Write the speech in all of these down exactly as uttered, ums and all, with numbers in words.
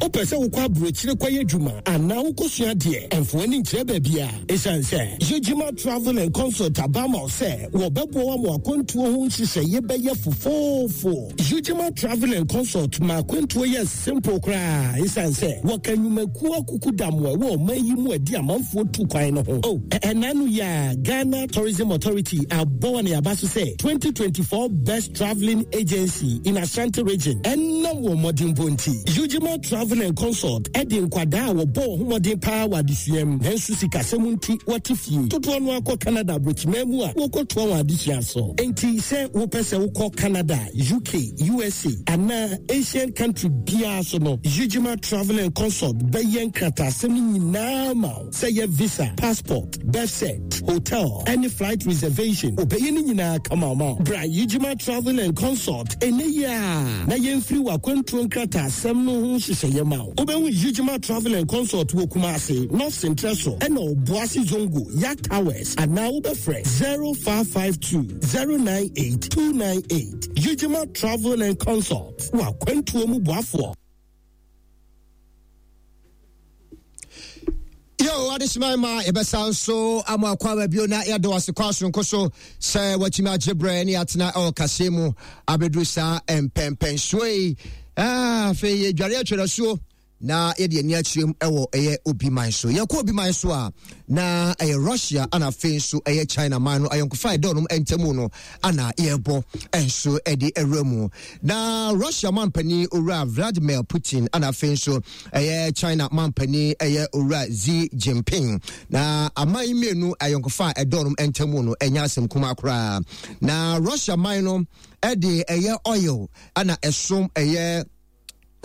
Wopɛ sɛ wokɔ aburokyire kɔyɛ adwuma anaa wokɔsua deɛ, ɛmfa w'ani nkyerɛ baabi a ɛsiane sɛ Yegyima Travel and Consult aba ma wo sɛ wɔbɛboa wo ama akwantuo ho nhyehyɛeɛ bɛyɛ fofoofo. Yegyima Travel and Consult ma akwantuo yɛ simple koraa ɛsiane sɛ wɔka nnwumakuo akuku damoa ɛwɔ ɔman yi mu adi amanfoɔ tu kwan no ho. Oh, ɛna no yɛ a Ghana Tourism Authority abɔ wɔn aba so sɛ twenty twenty-four Best Travelling Agency in Ashanti Region ɛnam wɔn mmɔdenbɔ nti. Yegyima Travel and Consult ɛde nkwadaa a wɔbɔ wɔn ho mmɔden paa wɔ adesua mu nanso sikasɛm nti wɔte fie dodoɔ no akɔ Canada aburokyiman mu a wɔkɔtoa wɔn adesua so. Nti sɛ wopɛ sɛ wokɔ Canada, U K, U S A anaa Asian country biara so no, Yegyima Travel and Consult bɛyɛ nkrataasɛm no nyinaa ma wo, sɛ yɛ visa, passport, birth cert, hotel ɛne flight reservation, obɛyɛ no nyinaa kama ma wo. Bra Yegyima Travel and Consult ɛnɛ yi a na yɛmfiri w'akwantuo nkrataasɛm no ho nhyehyɛeɛ ma wo. Wobɛhu Yegyima Travel and Consult wɔ Kumase, North Central so ɛna Ɔboase Zongo Yak Towers, anaa wobɛfrɛ zero five five two zero nine eight two nine eight. Yegyima Travel and Consult, wɔ akwantuo mu boafoɔ. Yo, adehyema ma yɛbɛsa nso ama akɔ aba bio na yɛde wase kɔ asonko so sɛ watumi agye berɛ ne yɛatena ɛwɔ kaseɛ mu abɛduru saa mpɛmpɛnsoɔ yi. Ah, afei yɛdware atwerɛsuo na yɛde ani akyerɛ mu ɛwɔ ɛyɛ obi man so. Yɛkɔ obi man so a, na ɛyɛ Russia ana afei nso ɛyɛ China man no ayɔnkofa ɛdɔ nom ntamu no ana yɛbɔ nso ɛde ɛwura mu. Na Russia mampanin Owura Vladimir Putin ana afei nso ɛyɛ China mampanin ɛyɛ Owura Xi Jinping, na aman mmienu ayɔnkofa ɛdɔ nom ntamu no ɛnyɛ asɛm kuma koraa. Na Russia man no ɛde ɛyɛ oil ana ɛsom ɛyɛ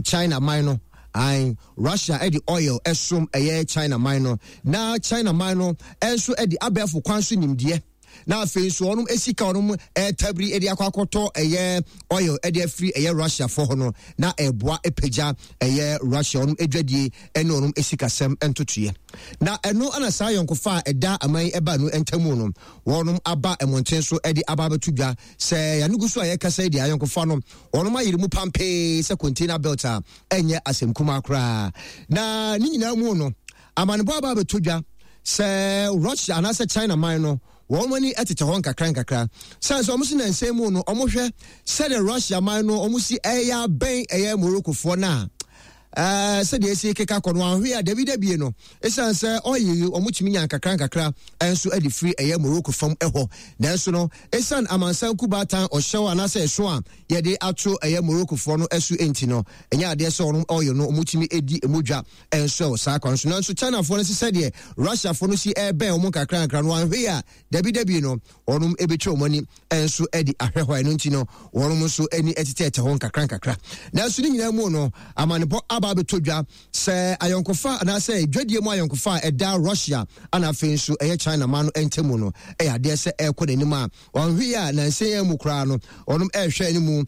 China man no. Ain, Russia ɛde oil ɛsom ɛyɛ China man no, na China man no ɛnso ɛde abɛɛfo kwan so nimdeɛ na afei nso ɔnom esika ɔnom ɛtabiri ɛde akɔ akɔtɔ ɛyɛ oil ɛde afiri ɛyɛ Russia fɔ hɔ no, na ɛboa ɛpagya ɛyɛ Russia ɔnom adwadie ɛne ɔnom esikasɛm ntotoeɛ. Na ɛno ɛna saa yɔnkofa a ɛda aman ɛba no ntamu no, wɔnom aba mmɔnten so ɛde aba abɛto dwa sɛ yɛn so a yɛkasa yi deɛ, ayɔnkofa no wɔnom ayere mu pampee sɛ container belt a ɛnyɛ asɛm kumaa koraa. Na ne nyinaa mu no, amanebɔ aba abɛto dwa sɛ Russia anaasɛ China man no, wɔn ani tete hɔ nkakra nkakra sɛ sɛ wɔn si nansan mu no, wɔn hwɛ sɛdeɛ Russia man no wɔn si ɛyɛ abɛn ɛyɛ Moroccofoɔ no a ɛɛ sɛdeɛ esi keka kɔ no ahwe a dabi dabie no, esan sɛ ɔyɛ wɔn tumi nya nkakra nkakra ɛnso ɛde firi ɛyɛ Morocco fam ɛhɔ. Nanso no, esan amansan kubaatan ɔhyɛw anaasɛ ɛso a yɛde ato ɛyɛ Moroccofoɔ no ɛso enti no, ɛnyɛ adeɛ sɛ wɔn ɔyɛ no wɔn tumi edi emu dwa ɛnso ɛwɔ saa kwan so. Nanso Chinafoɔ no sɛ sɛdeɛ Russiafoɔ no si ɛbɛn wɔn nkakra nkakra no, ahwe a dabi dabi no, wɔn ebɛtwa wɔn ani ɛnso ɛde ahwɛ hɔ. Ɛno nti no, wɔn nso ani ɛtetɛɛtɛ hɔ nkakra nkakra. Nanso ne nyinaa mu no, amanebɔ aba abɛtɔ dwa sɛ ayɔnkofa anaasɛ dwadie mu ayɔnkofa a ɛda Russia ana afei nso ɛyɛ China man no ntamu no, ɛyɛ adeɛ sɛ ɛrekɔ n'anim a wɔnhwe a nansa yɛn mu koraa no, wɔn ɛrehwɛ anim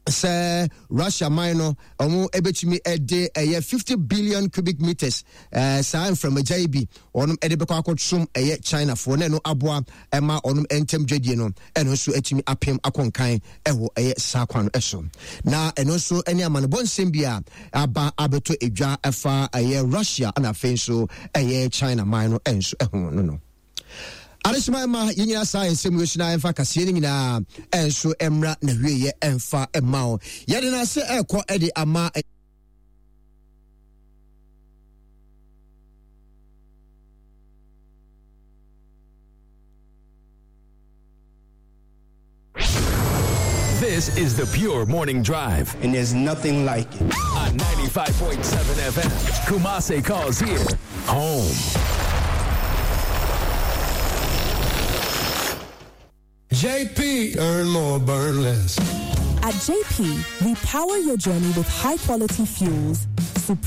sɛ Russia man no ɔmo ɛbɛtumi ɛde ɛyɛ fifty billion cubic meters ɛɛ saa mframagya yi bi ɔnom ɛde bɛkɔ akɔtom ɛyɛ Chinafoɔ, na ɛno aboa ɛma ɔnom ntɛm dwadie no ɛno nso atumi apem akɔnkan ɛwɔ ɛyɛ saa kwan no ɛso. Na ɛno nso ɛne amanebɔ nsɛm bi a aba abɛtɔ edwa ɛfa ɛyɛ Russia ɛna afei nso ɛyɛ China man no ɛnso ɛho no no Adehyema ma yɛn nyinaa saa nsɛm yi so na ɛmfa kaseɛ no nyinaa ɛnso mmra na wieɛ ɛmfa mma wo. Yɛde no ase ɛrekɔ ɛde ama. This is the Pure Morning Drive. And there's nothing like it. On ninety-five point seven F M, Kumasi calls here home. J P, earn more, burn less. At J P, we power your journey with high quality fuels, supreme